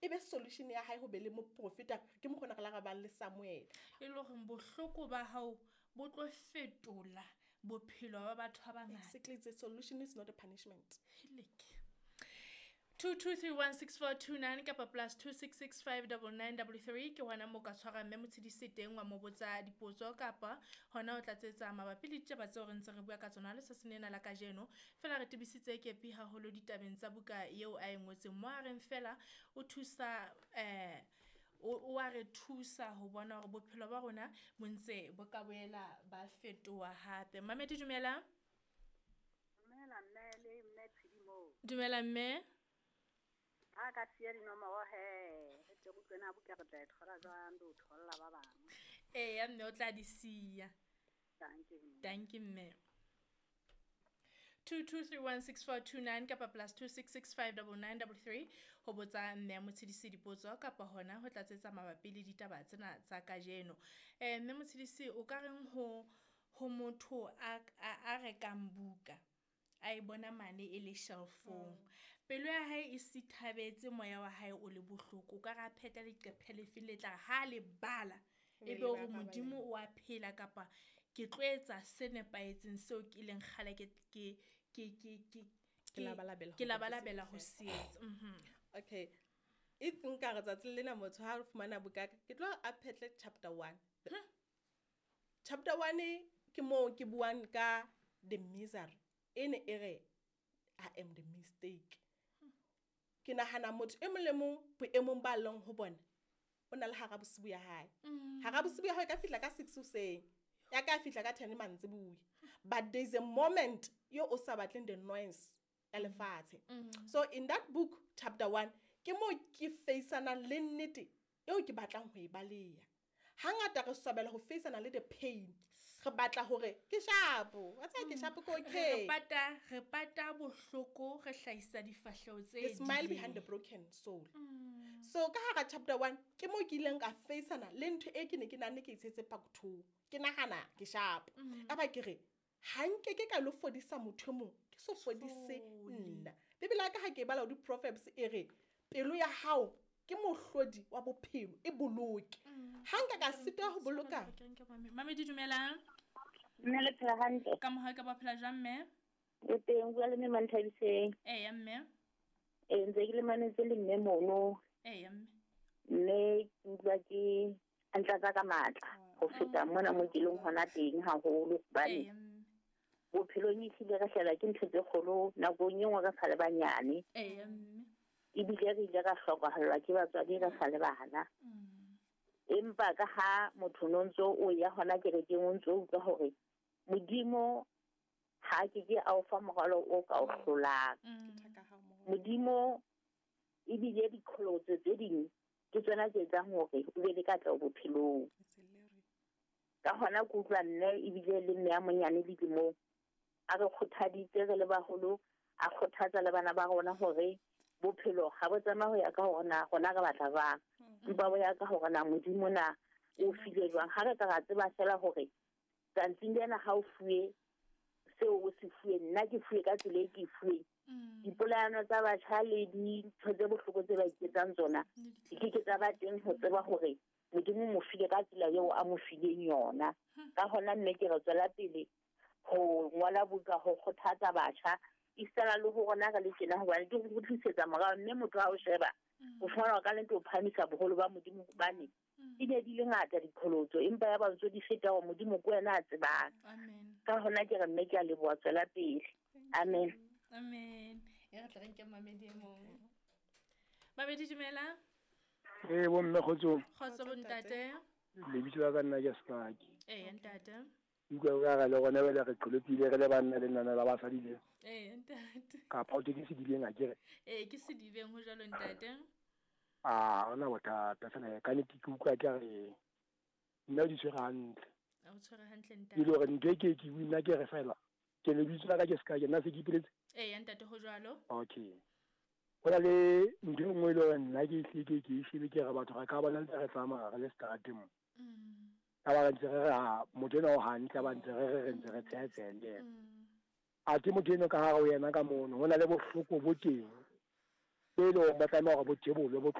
E be solution ya hae ho be le moprofeta ke mokgona re la ra bang le Samuel. E le hore bohloko ba hao bo tlo fetola bophelo ba batho ba bangata. Exactly, it's a solution, it's not a punishment. Heleke. 22316429 kapa +266 59933 ke hona moo ka tshwara mme Motshidisi teng wa mo botsa dipotso kapa hona o tlatsetsa mabapi le ditaba tseo re ntse re bua ka tsona letsatsing lena la kajeno. Feela re tebisitse kepi haholo ditabeng tsa buka eo a e ngotseng mo a reng fela o thusa o a re thusa ho bona hore bophelo ba rona bo ntse bo ka boela ba fetoha hape. Mamedi, dumela. Dumela mme le mme Tshedimo. Dumela mme. Ha ka siya dinomoro he, re tle re utlwe na buka re tla e thola jwang, re o tholla ba bang. Eya mme, o tla di siya. Dankie mme. Dankie mme. 22316429 kapa +266 59933 ho botsa mme ya Motshidisi dipotso kapa hona ho tlatsetsa mabapi le ditaba tsena tsa kajeno. Mme Motshidisi, o ka reng ho motho a rekang buka a e bona mane e le shelfong, pelo ya hae e sithabetse, moya wa hae o le bohloko, o ka re a phetla leqephe lefe le tla re ha le bala e be hore Modimo o a phela kapa ke tlo etsa se nepahetseng seo ke leng kgale ke labalabela ke labalabela ho se etsa. Okay, if nka re tsatsing lena motho ha fumana buka ka, ke tlo a phetle chapter 1. Chapter 1 ke moo ke buang ka the misery e ne e re I am the mistake. Ke nahana motho e mong le mong boemong ba leng ho bona o na le hara bosibu ya hae. Hara bosibu ya hae ka fihla ka 6 hoseng, ya ka fihla ka 10 mantsibuya, but there is a moment yo o sa batleng the noise ya lefatshe. So in that book chapter 1 ke mo ke faceanang le nnete eo ke batlang ho e baleha. Hangata re swabela ho faceana le the pain, re batla hore ke sharp, wa tseba ke sharp, ke okay. Re pata bohloko, re hlahisa difahleho tse The smile behind the broken soul. So ka hara chapter 1 ke mo ke ileng ka faceana le ntho e ke ne ke nahane ke itshetse pakuthong, ke nahana ke sharp, ka ba ke re ha nke ke ka lo fodisa motho e mong ke so fodise nna. Bibele ya ka ha ke e bala ho di-Proverbs e re pelo ya hao ke mohlodi wa bophelo, e boloke. Ha nka ka sitwa ho boloka. Mamedi, dumelang. Mme, le phela hantle? Ka mohau ka ba phela jwang mme? O teng, bua le mme Manthabiseng. Eya mme. Ee, ntse ke le mametse le mme mono. Eya mme. Mme ke utlwa ke a ntlatsa ka matla ho feta mona mo ke leng hona teng haholo hobane Eya mme. bophelong ehlile re hlelwa ke ntho tse kgolo nakong e nngwe re sa le banyane. Eya mme. Ebile re ile ra hlokahallwa ke batswadi re sa le bana. Empa ka ha motho no ntso o ya hona kerekeng, o ntso utlwa hore Modimo ha ke ke a o fa morwalo o ka o hlolang. Modimo ebile diqholotso tse ding ke tsona tse etsang hore o be le katleho bophelong. Ka hona ke utlwa mme ebile le mme a monyane dilemong a re kgothaditse re le baholo, a kgothatsa le bana ba rona hore bophelo ha bo tsamaye ho ya ka hore na rona re batla jwang, empa bo ya ka hore na Modimo na o file jwang. Ha re ka ra tseba fela hore tsantsing lena ha o fuwe seo o se fuwe, nna ke fuwe ka tsela e ke e fuweng, dipolayano tsa batjha le dintho tse bohloko tse ba iketsang tsona di ke ke tsa ba teng, ho tseba hore Modimo mo file ka tsela eo a mo fileng yona. Ka hona mme ke re tswela pele ho ngola buka ho kgothatsa batjha esitana le ho rona re le tjena, hobane ke ho kgutlisetsa morao, mme motho ha o sheba o fumana ka lento o phahamisa boholo ba Modimo, hobane di ne di le ngata diqholotso, empa ya ba ntso di feta hore Modimo ke wena a tsebang. Amen. Ka hona ke re mme ke a leboha, tswela pele, amen. Amen. E re tle re nke mamedi e mong. Mamedi, dumela. Ee bomme, kgotsong. Kgotso bontate. Lebitso la ka nna ke Sefaki. Eya ntate. Utlwa ka re le gona bele re qholopile re le banna le nana la basadi le. Eya ntate. Kapa o ke sedibeng a kere? Ee, ke sedibeng, ho jwalo ntate. A hona bothata fela ka nnete ke utlwa ke re nna o di tshwere hantle. A o tshwere hantle E le ntate. hore ntho e ke nna ke re fela ke lebitso la ka ke Seka, ke nna se ke ipoletse. Eya ntate, ho jwalo. Okay. Ho na le ntho e nngwe e le hore nna ke hlile ke e shebe, ke re batho re ka bona ntse re tsamaya re le seterateng mo. Ka ba re ntse re re ha motho enwa o hantle, ba ntse re ntse re tsheha tsheha le yena. Athe motho eno ka hare ho yena ka mono ho na le bohloko bo teng, bo e leng hore bo tlameha hore bo thebolwe bo.